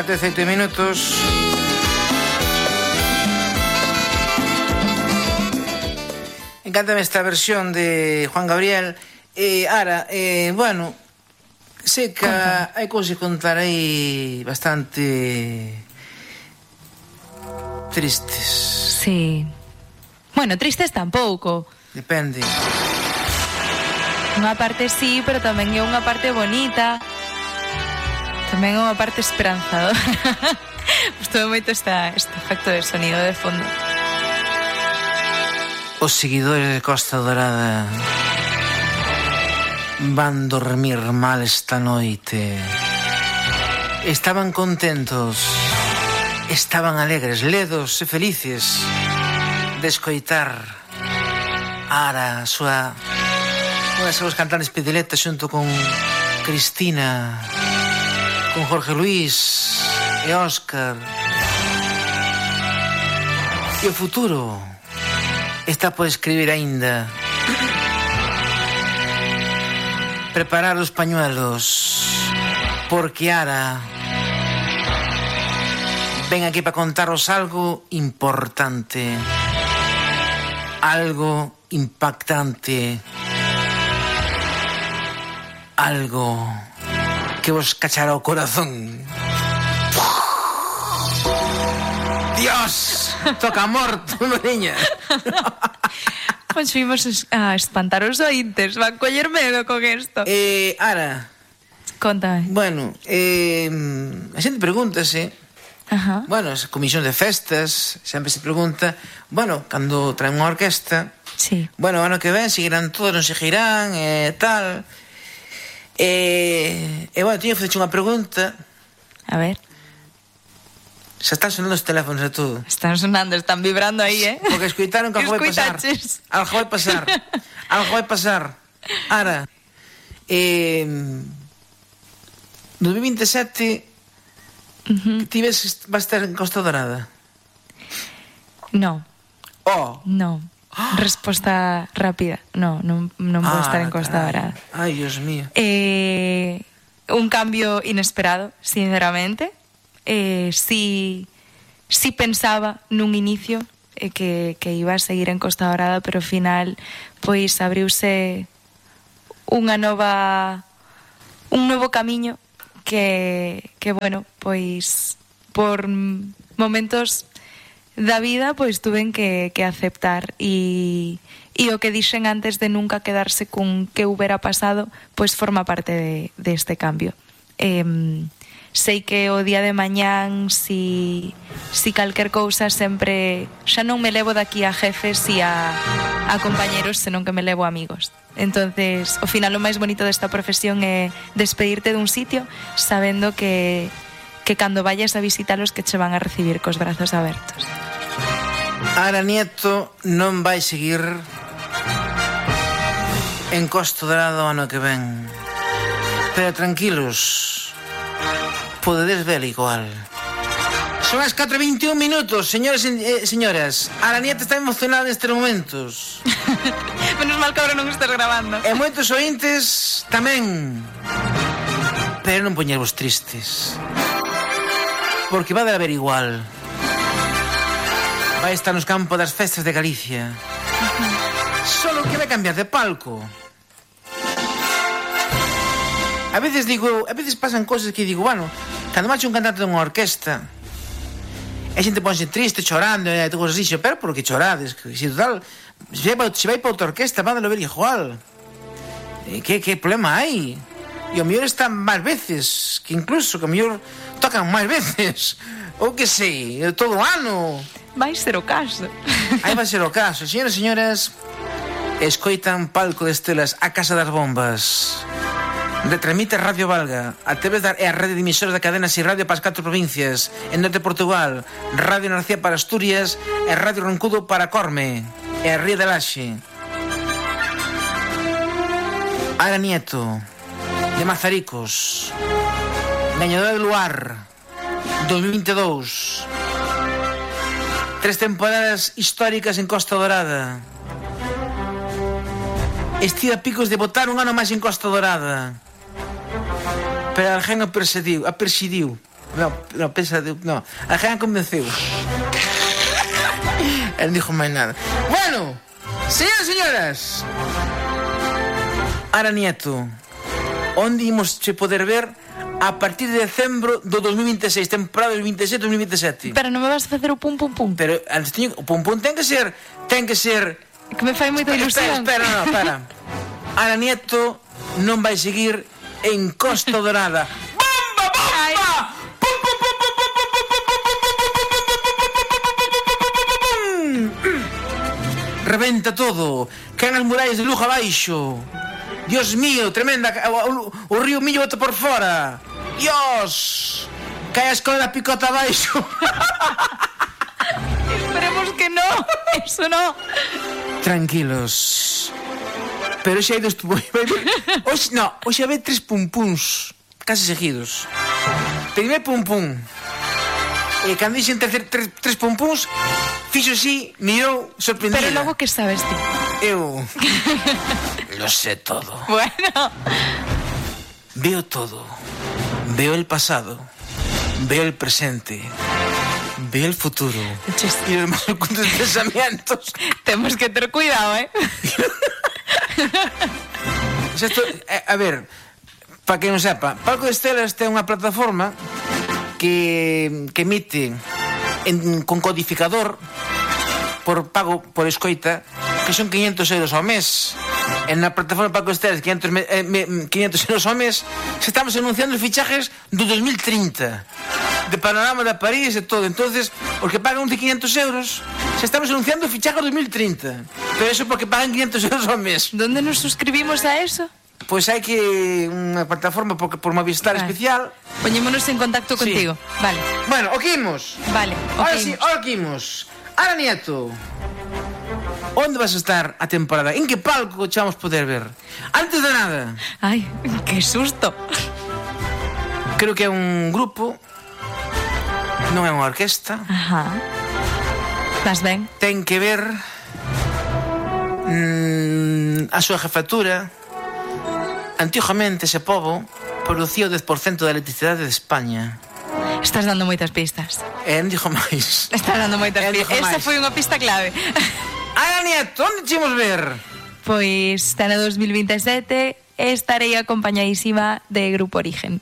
17 minutos. Encántame esta versión de Juan Gabriel. Ahora, bueno, sei que hai cousas que contar aí bastante tristes. Sí. Bueno, tristes tampouco. Depende. Unha parte sí, pero tamén é unha parte bonita. Tamén é unha parte esperanzadora. Gustou moito este efecto de sonido de fondo. Os seguidores de Costa Dorada van dormir mal esta noite. Estaban contentos, estaban alegres, ledos e felices de escoitar Ara, unha das súas cantantes predilectas xunto con Cristina, con Jorge Luis e Óscar. E o futuro está por escribir aínda. Preparar os pañuelos, porque Ara ven aquí para contaros algo importante, algo impactante, algo que vos cachará o corazón. Dios, toca morto, niña. Pois fuimos a espantar os ointes. Van coller medo con isto. Ara, Contame. bueno, a xente pregúntase. Ajá. Bueno, as comisións de festas sempre se pregunta, bueno, cando traen unha orquesta, Sí. bueno, o ano que ven seguirán todos, non seguirán, tal. Bueno, tiño que facer unha pregunta. A ver. Xa están sonando os teléfonos e todo. Están sonando, están vibrando aí, Porque escoitaron que algo vai pasar. Escoitaches. Algo vai pasar. Algo vai pasar. Ara, 2027 ti ves vas estar en Costa Dorada? No, Oh. no. Resposta rápida. No, non vou estar en Costa Dorada. Ai, Dios mío. Un cambio inesperado, sinceramente. Sí pensaba nun inicio que iba a seguir en Costa Dorada, pero ao final pois abriuse un novo camiño que bueno, pois por momentos da vida pois tuven que aceptar e o que dixen antes de nunca quedarse con que hubiera pasado pois forma parte deste cambio. Sei que o día de mañán si calquer cousa sempre xa non me levo daqui a jefes e a compañeros, senón que me levo a amigos. Entonces, ao final o máis bonito desta profesión é despedirte dun sitio sabendo que cando vayas a visitalos que che van a recibir cos brazos abertos. Ara Nieto non vai seguir en Costa Dorada o ano que ven, pero tranquilos, podedes ver igual. Son as 4:21 minutos, señores e señoras. Ara Nieto está emocionada nestes momentos. Menos mal que agora non estás grabando. E moitos ointes tamén. Pero non poñervos tristes, porque vai de haber igual. Vai estar nos campos das festas de Galicia. Solo que vai cambiar de palco. A veces pasan cosas que digo, bueno, cando marcha un cantante dunha orquesta, a xente ponse triste, chorando, e cosas así, pero por que chorades? Se total, se vai para outra orquesta, van a ver igual. Que problema hai? E o mellor están máis veces, que incluso, que o mellor tocan máis veces, ou que sei, todo o ano. Vai ser o caso. Aí vai ser o caso. Señoras e señoras, escoitan Palco de Estelas, a Casa das Bombas. Retransmite Radio Valga, a TV e a rede de emisoras da cadena Si Radio para as 4 provincias, en Norte de Portugal, Radio Narcía para Asturias e Radio Roncudo para Corme e a Ría de Laxe. Ara Nieto, de Mazaricos, gañadora do Luar 2022, 3 temporadas históricas en Costa Dorada. Estive a picos de botar un ano máis en Costa Dorada, pero alguén a perseguiu. No, pensa, no. A gente convenceu. Él non dixo máis nada. Bueno, señoras e señoras, Ara Nieto, onde imos che poder ver a partir de decembro do 2026, temporada 2027-2027. Pero non me vas a facer o pum pum pum. Pero antes teño, o pum pum ten que ser que me fai moita ilusión. Espera. Ara Nieto non vai seguir en Costa Dorada. Bomba! Ay. Pum, pum, pum, pum, pum, pum, pum, pum, pum, pum, pum, pum, pum. Rebenta todo. Caen as murallas de Lugo abaixo. Dios mío, tremenda. O río Millo bota por fora. Dios. Cae a escola da Picota abaixo. Esperemos que no. Eso no. Tranquilos. Pero xa hai dos... Hoxe hai 3 pum-puns casi seguidos. Primer pum-pum. E cando dixen tres pum-puns, fixo así, mirou, sorprendida. Pero logo que sabes ti? Eu lo sé todo. Bueno. Veo todo. Veo el pasado. Veo el presente. Veo el futuro. Y los más ocultos pensamientos. Tenemos que tener cuidado, ¿eh? A ver, para que non sepa, Palco de Estelas ten unha plataforma que emite con codificador por pago por escoita, que son 500 euros ao mes. En na plataforma Palco de Estelas 500 euros ao mes. Se estamos anunciando os fichajes do 2030 de Panorama de París e todo. Entonces, os que pagan de 500 euros, se estamos anunciando o fichaje do 2030. Pero eso porque pagan 500 euros ao mes. ¿Dónde nos suscribimos a eso? Pois hai que unha plataforma por Movistar especial. Poñémonos en contacto contigo. Vale. Bueno, o que imos? Vale, Ahora sí, ahora que imos. Ara Nieto, onde vas a estar a temporada? En que palco che vamos poder ver? Antes de nada, Ay, qué susto. creo que é un grupo, non é unha orquesta. Ajá. Vas ben? Ten que ver a súa jefatura. Antigamente ese pobo producía o 10% da electricidade de España. Estás dando moitas pistas. E non dixo máis. Estás dando moitas pistas. Esa foi unha pista clave. Ara Nieto, onde te imos ver? Pois está no 2027 e estarei acompañadísima de Grupo Origen.